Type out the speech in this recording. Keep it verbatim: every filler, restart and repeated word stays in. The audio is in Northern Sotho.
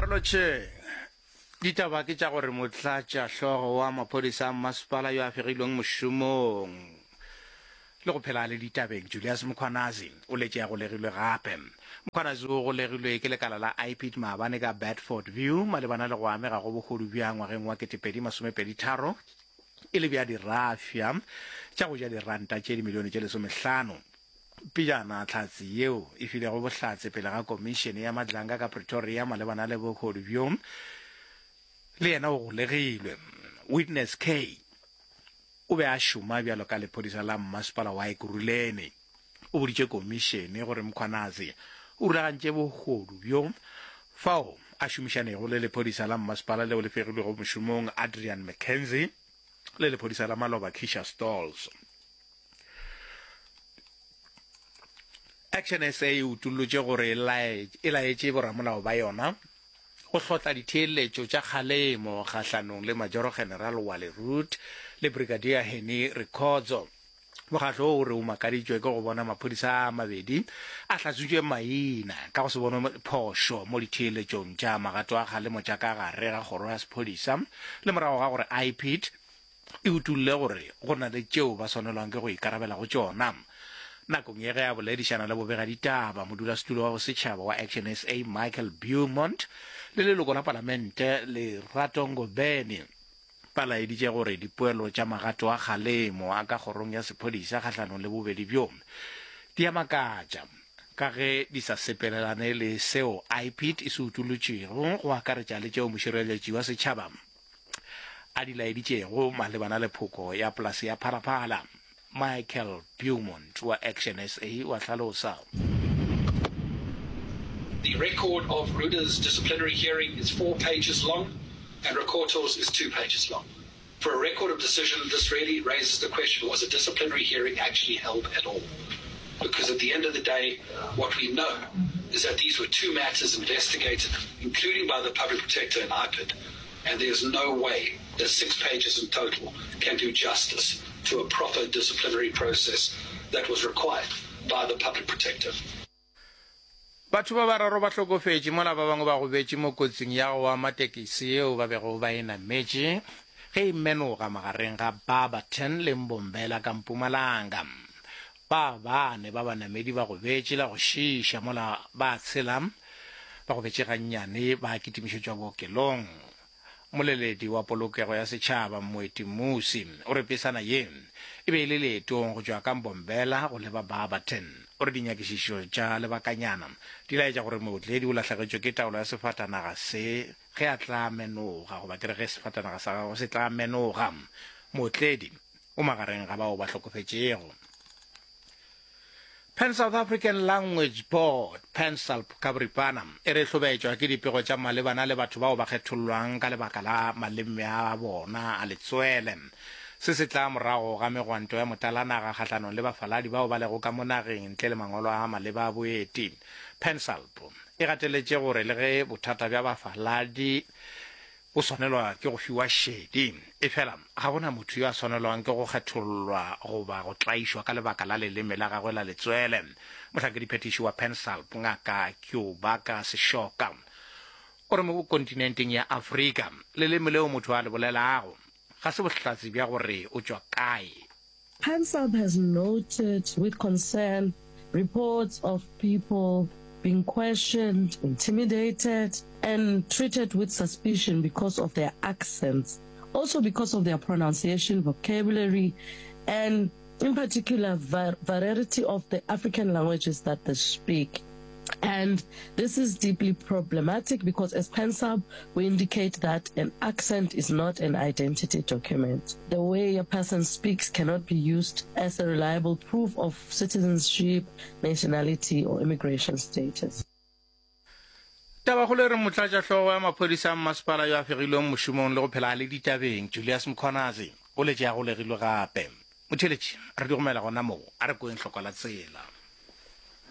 Re lotšheng. Ditaba ke tša gore motlatšahlogo wa maphodisa a mmasepala yo a fegilweng mošomong le go phela a le ditabeng, Julius Mkhwanazi, o letše a golegilwe gape. Mkhwanazi o golegilwe ke lekala la I P I D maabane ka Bedford View malebana le go amega go bohodu bja ngwageng wa ketepedi masomepedi tharo e le bja dirafša tša go ja diranta tše dimilione tše lesomehlano. Pejana, hlatse yeo e filego bohlatse pele ga Komišene ya Madlanga ka Pretoria malebana le bohodu bjo le yena o golegilwe. Witness K o be a šoma bjalo ka lephodisa la mmasepala wa Ekurhuleni. O boditše komišene gore Mkhwanazi o rulagantše bohodu bjo fao a šomišanego le lephodisa la mmasepala leo le fegilwego mošomong Adrian McKenzie le lephodisa la maloba Keisha Stolz. Action S A e utollotše gore e laetše boramolao ba yona go hlotla ditheeletšo tša kgalemo kgahlanong le Majoro General Wally Roodt le Brigadier Hennie Rikhotso. Mokgatlo wo o re o makaditšwe ke go bona maphodisa a mabedi a hlatswitšwe maina ka go se bonwe phošo mo ditheeletšong tša magato a kgalemo tša ka gare ga kgoro ya sephodisa le morago ga gore I P I D e utolle gore go na le tšeo ba swanelwang ke go ikarabela go tšona. Nakong ye ge a boledišana le bobegaditaba, modulasetulo wa bosetšhaba wa Action S A Michael Beaumont le leloko la palamente Lerato Ngobeni ba laeditše gore dipoelo tša magato a kgalemo a ka kgorong ya sephodisa kgahlanong le bobedi bjo di a makatša ka ge di sa sepelelane le seo I P I D e se utolotšego, go akaretša le tšeo mošireletši wa setšhaba a di laeditšego malebana le phoko ya polase ya Phalaphala. Michael Beaumont wa Action S A wa hlalosa. The record of Ruda's disciplinary hearing is four pages long and Rikhotso's is two pages long. For a record of decision, this really raises the question, was a disciplinary hearing actually held at all? Because at the end of the day, what we know is that these were two matters investigated, including by the public protector and I P I D, and there's no way that six pages in total can do justice to a proper disciplinary process that was required by the public protector. Batho ba bararo ba hlokofetše mola ba bangwe ba gobetše mo kotsing ya go ama tekisi yeo ba bego ba e nametše ge e menoga magareng ga Barberton le Mbombela ka Mpumalanga. Ba bane ba banamedi ba gobetše la go šiiša mola ba tshela ba gobetše gannyane ba kitimišetšwa bookelong. Moleledi wa polokego ya setšhaba Moeti Musi o re pesana ye e be e le leetong go tšwa ka Mbombela go leba Barberton. O re dinyakišišo tša lebakanyana di laetša gore mootledi o lahlegetšwe ke taolo ya sefatanaga se ge a tla menoga, goba ke re ge sefatanaga sa gagwe se tla menoga. Mootledi o magareng ga bao ba hlokofetšego. Pan South African Language Board, PanSALB ka boripana, e re hlobetšwa ke dipego tša malebana le batho bao ba kgethollwang ka lebaka la maleme a bona a letswele. Se se tla morago ga megwanto ya motalanaga kgahlanong le bafaladi bao ba lego ka mo nageng ntle le mangwalo a maleba a boeti. PanSALB e gateletše gore le ge bothata bja bafaladi bo swanelwa ke go fiwa šedi, efela ga gona motho yo a swanelwang ke go kgethollwa goba go tlaišwa ka lebaka la leleme la gagwe la letswele. Mohlankediphetiši wa PanSALB Ngaka Keobaka Seshoka o re mo kontinenteng ya Afrika leleme leo motho a le bolelago ga se bohlatse bja gore o tšwa kae. PanSALB has noted with concern reports of people being questioned, intimidated, and treated with suspicion because of their accents, also because of their pronunciation, vocabulary, and in particular, variety of the African languages that they speak. And this is deeply problematic because as PanSALB, we indicate that an accent is not an identity document. The way a person speaks cannot be used as a reliable proof of citizenship, nationality, or immigration status. Tabakgolo e re motlatšahlogo ya maphodisa a mmasepala yo a fegilweng mošomong le go phela a le ditabeng Julius Mkhwanazi o letše a golegilwe gape. Motheeletši, re di gomela gona moo, a re kweng hloko la tsela.